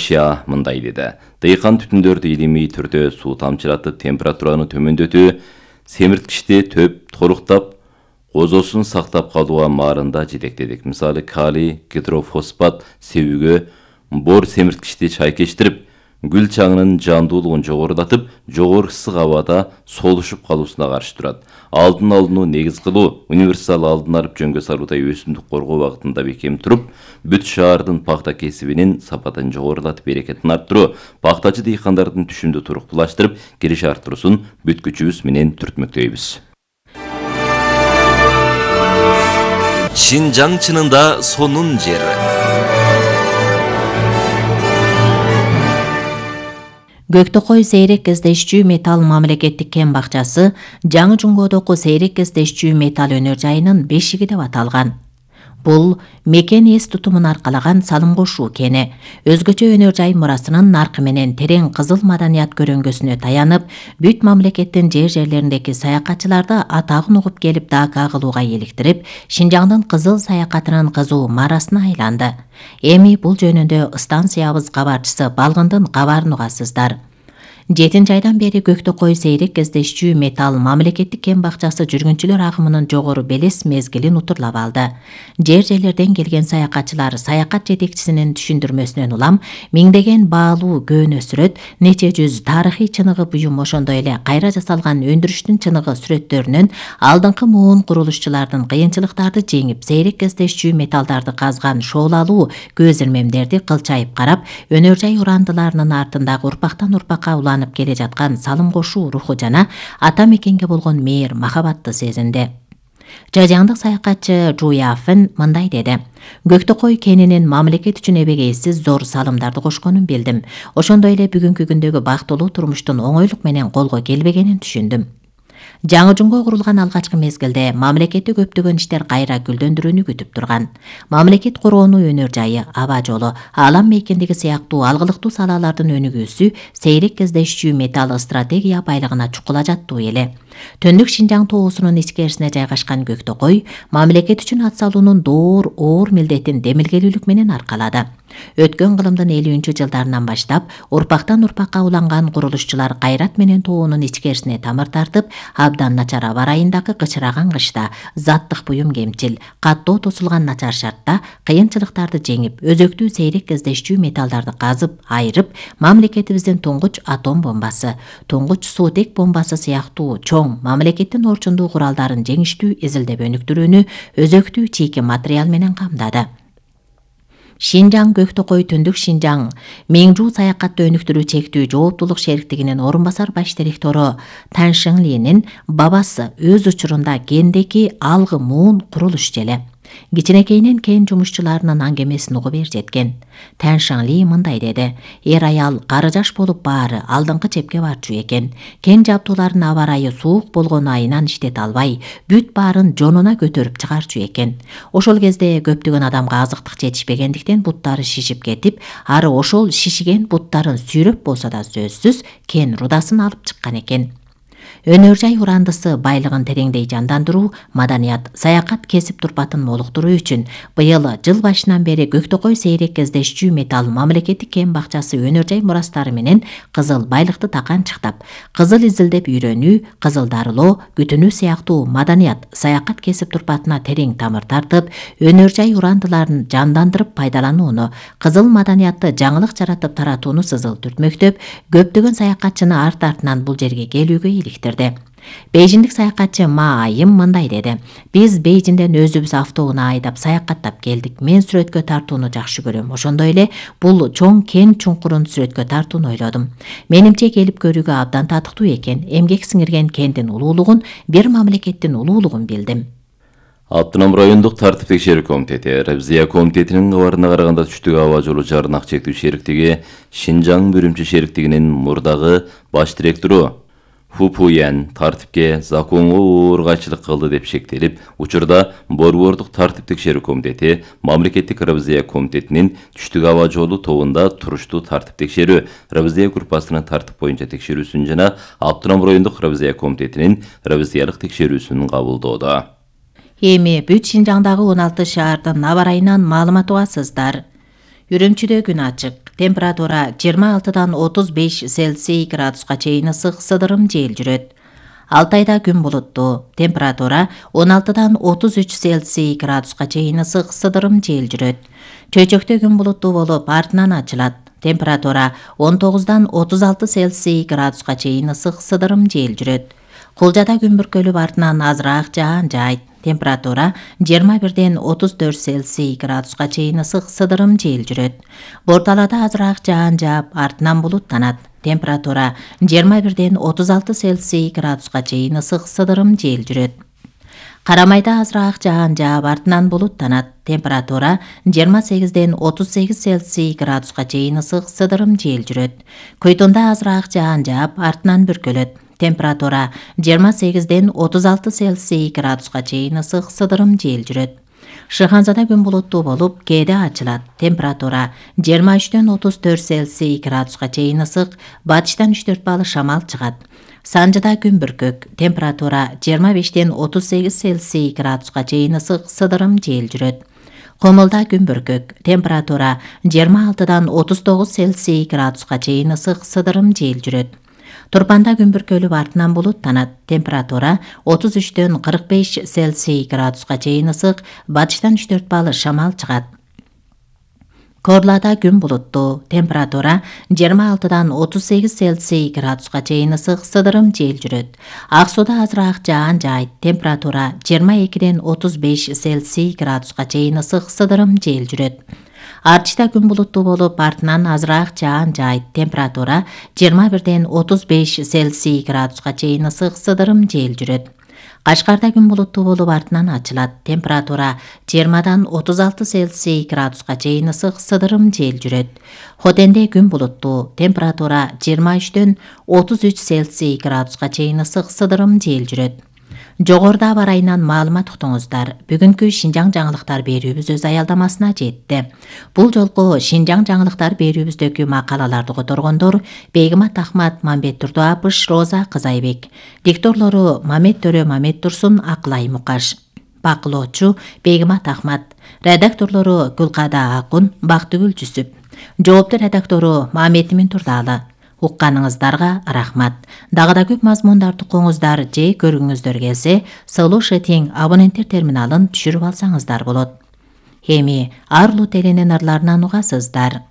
Шиа мындай деди. Дыйкан түтүндөрдү илимий түрдө суу тамчыратып, температураны төмөндөтүү, семирткичти төп толуктап, козосун сактап калууга маарында жетектедик. Мисалы, калий гидрофосфат себүүгө бор семирткичти чайкештирип, гүл чаңынын жандуулугун жогорулатып, жогору ысык абада солушуп калуусуна каршы турат. Алдын алууну негиз кылуу, универсал алдын алып жөнгө салуудай өсүмдүк коргоо багытында бекем туруп, бүт шаардын пахта кесибинин сапатын жогорулатып, берекетин арттыруу, пахтачы дыйкандардын түшүмдү туруктуулаштырып, кириш арттыруусун бүт күчүбүз менен түртмөктөйбүз. Шинжаң чынында сонун жер. Көктөкөй сейрек кездешчүү металл мамлекеттик кен бакчасы Жаңы Жуңгодогу сейрек кездешчүү металл өнөр жайынын бешиги деп аталган. Бул мекен эс тутумун аркалаган салым кошуу кени. Өзгөчө өнөр жай мурасынын наркы менен терең кызыл маданият көрөңгөсүнө таянып, бүт мамлекеттин жерлериндеги саякатчыларды атагын угуп келип дака кылууга иликтирип, Шинжаңдын кызыл саякатынын кызуу марасына айланды. Эми бул жөнүндө станциябыз кабарчысы Балгындын кабарын угасыздар. 7 айдан бери Көктөкөй сейрек кездешчүү металл мамлекеттик кен бакчасы жүргүнчүлөр агымынын жогору белес мезгилин утурлап алды. Жерлерден келген саякатчылар саякат жетекчисинин түшүндүрмөсүнөн улам миңдеген баалуу көөнө сүрөт, нече жүз тарыхый чыныгы буюм, ошондой эле кайра жасалган өндүрүштүн чыныгы сүрөттөрүнөн алдыңкы муун курулушчулардын кыйынчылыктарды жеңип, сейрек кездешчүү металлдарды казган шоолалуу көз ирмемдерди кылчайып карап, өнөр жай урандыларынын артындагы урпактан урпакка келе жаткан салым кошуу руху жана ата мекенге болгон мээр махабатты сезинди. Жажаңдык саякатчы Жуяфын мындай деди. Көктөкөй кенинин мамлекет үчүн эбегейсиз зор салымдарды кошконун билдим. Ошондой эле бүгүнкү күндөгү бактылуу турмуштун оңойлук менен колго келбегенин түшүндүм. Жаңы Жуңго курулган алгачкы мезгилде мамлекетти көптөгөн иштер кайра гүлдөндүрүүнү күтүп турган. Мамлекет короону өнөр жайы, аба жолу, алам мейкиндиги сыяктуу алгылыктуу салалардын өнүгүүсү сейрек кездешчүү металл стратегия байлыгына чукула жаттуу эле. Төндүк Шинжаң тоосунун ичкерисине жайгашкан Көктөкөй мамлекет үчүн ат салуунун оор милдетин демилгелүүлүк менен аркалады. Өткөн кылымдын 50-жылдарынан баштап урпактан урпакка уланган курулушчулар кайрат менен тоонун ичкерисине тамыр тартып, абдан начар аба ырайындагы кычыраган кышта, заттык буюм кемчил, каттоо тосулган начар шартта кыйынчылыктарды жеңип, өзөктүү сейрек кездешчүү металлдарды казып, айырып, мамлекетибиздин туңгуч атом бомбасы, туңгуч суутек бомбасы сыяктуу чоң мамлекеттин орчундуу куралдарын жеңиштүү изилдеп өнүктүрүүнү өзөктүү чийки материал менен камдады. Шинжаң Көктөкөй Түндүк Шинжаң Меңжу саякатты өнүктүрүү чектүү жооптулук шериктигинин орун басар баш директору Тан Шыңлинин бабасы өз учурунда кендеки алгы муун курулуш желе. Кичинекейинен кен жумушчуларынын аңгемесин угуп жеткен. Тан Шыңли мындай деди. Эр аял кары жаш болуп баары алдыңкы чепке барчу экен. Кен жабдууларын аба ырайы суук болгону айынан иштете албай, бүт баарын жонуна көтөрүп чыгарчу экен. Ошол кезде көптөгөн адамга азыктык жетишпегендиктен буттары шишип кетип, ары ошол шишиген буттарын сүйрөп болсо да сөзсүз кен рудасын алып чыккан экен. Өнөр жай урандысы байлыгын тереңдей жандандыруу, маданият, саякат кесип турпатын молуктуруу үчүн быйыл жыл башынан бери Көктөкөй сейрек кездешчүү металл мамлекеттик кен бакчасы өнөр жай мурастары менен кызыл байлыкты таканчыктап, кызыл изилдеп үйрөнүү, кызыл дарылоо, күтүнүү сыяктуу маданият, саякат кесип турпатына терең тамыр тартып, өнөр жай урандыларын жандандырып пайдаланууну, кызыл маданиятты жаңылык жаратып таратууну сызыл түртмөктөп, көптөгөн саякатчыны арт-артынан бул жерге келүүгө иликтирди. Бейжиндик саякатчы Ма Айым мындай деди. Биз Бейжинден өзүбүз автоунаа айдап саякаттап келдик. Мен сүрөткө тартууну жакшы көрөм. Ошондой эле бул чоң кен чуңкурун сүрөткө тартууну ойлодум. Менимче келип көрүүгө абдан татыктуу экен. Эмгек сиңирген кендин улуулугун, бир мамлекеттин улуулугун билдим. Автоном райондук тартип текшерүү комитети Ревизия комитетинин кабарына караганда түштүк аба жолу жарнак чектүү шериктиги Шинжаң бөлүмчө шериктигинин мурдагы баш директору Фупуян тартипке законго уургайчылык кылды деп шектелип, учурда Борбордук тартип текшерүү комитети мамлекеттик ревизия комитетинин түштүк аба жолу тобунда туруштуу тартип текшерүү ревизия группасынын тартип боюнча текшерүүсүн жана автоном райондук ревизия комитетинин ревизиялык текшерүүсүн кабылдоодо. Эми бүт Шинжаңдагы 16 шаардын аба ырайынан маалымат угасыздар. Үрүмчүдө күн ачык. температура 26-дан 35 Цельсий градуска чейин ысык сыдырым жел жүрөт. Алтайда күн булуттуу, температура 16-дан 33 Цельсий градуска чейин ысык сыдырым жел жүрөт. Чөйчөктө күн булуттуу болуп, артынан ачылат. Температура 19-дан 36 Цельсий градуска чейин ысык сыдырым жел жүрөт. Кулжада күн бүркөлүп, артынан азыраак жаан жайт. Температура 21-ден 34 Цельсий градуска чейин ысык сыдырым жел жүрөт. Борталада азыраак жаан жаап, артынан булуттанат. Температура 21-ден 36 Цельсий градуска чейин ысык сыдырым жел жүрөт. Карамайда азыраак жаан жаап, артынан булуттанат. Температура 28-ден 38 Цельсий градуска чейин ысык сыдырым жел жүрөт. Көйтүндө азыраак жаан жаап, артынан бүркөлөт. Температура 28-ден 36 Цельсий градуска чейин ысык сыдырым жел жүрөт. Шыханзада күн булуттуу болуп, кээде ачылат. Температура 23-ден 34 Цельсий градуска чейин ысык, батыштан 3-4 балы шамал чыгат. Санжыда күн бүркөк. Температура 25-ден 38 Цельсий градуска чейин ысык сыдырым жел жүрөт. Комулда күн бүркөк. Температура 26-дан 39 Цельсий градуска чейин ысык сыдырым жел жүрөт. Турпанда күн бүркөлүп, артынан булуттанат. Температура 33-ден 45 Цельсий градуска чейин ысык, батыштан 3-4 балы шамал чыгат. Корлада күн булуттуу. Температура 26-дан 38 Цельсий градуска чейин ысык сыдырым жел жүрөт. Ак сууда азыраак жаан жайт. Температура 22-ден 35 Цельсий градуска чейин ысык сыдырым жел жүрөт. Арчида күн булуттуу болуп, артынан азыраак жаан жайт. Температура 21-ден 35 Цельсий градуска чейин ысык сыдырым жел жүрөт. Кашкарда күн булуттуу болуп, артынан ачылат. Температура 20-дан 36 Цельсий градуска чейин ысык сыдырым жел жүрөт. Хотенде күн булуттуу. Температура 23-ден 33 Цельсий градуска чейин ысык сыдырым жел жүрөт. Жогоруда аба ырайынан маалымат уктуңуздар. Бүгүнкү Шинжаң жаңылыктар берүүбүз өз аялдамасына жетти. Бул жолку Шинжаң жаңылыктар берүүбүздөгү макалаларды которгондор Бегимат Ахмат, Мамбет Турдуапыш, Роза Кызайбек. Дикторлору Мамет Төрө, Мамет Турсун, Акылай Мукаш. Бакылоочу Бегимат Ахмат. Редакторлору Гүлкада Акун, Бактыгүл Жүсүп. Жоопту редактору Мамет Турдалы. Укканыңыздарга рахмат. Дагы да көп мазмундарды укуңуздар же көргүңүздөр келсе, Solution абоненттер терминалын түшүрүп алсаңыздар болот. Эми Арлу теленин ырларынан угасыздар.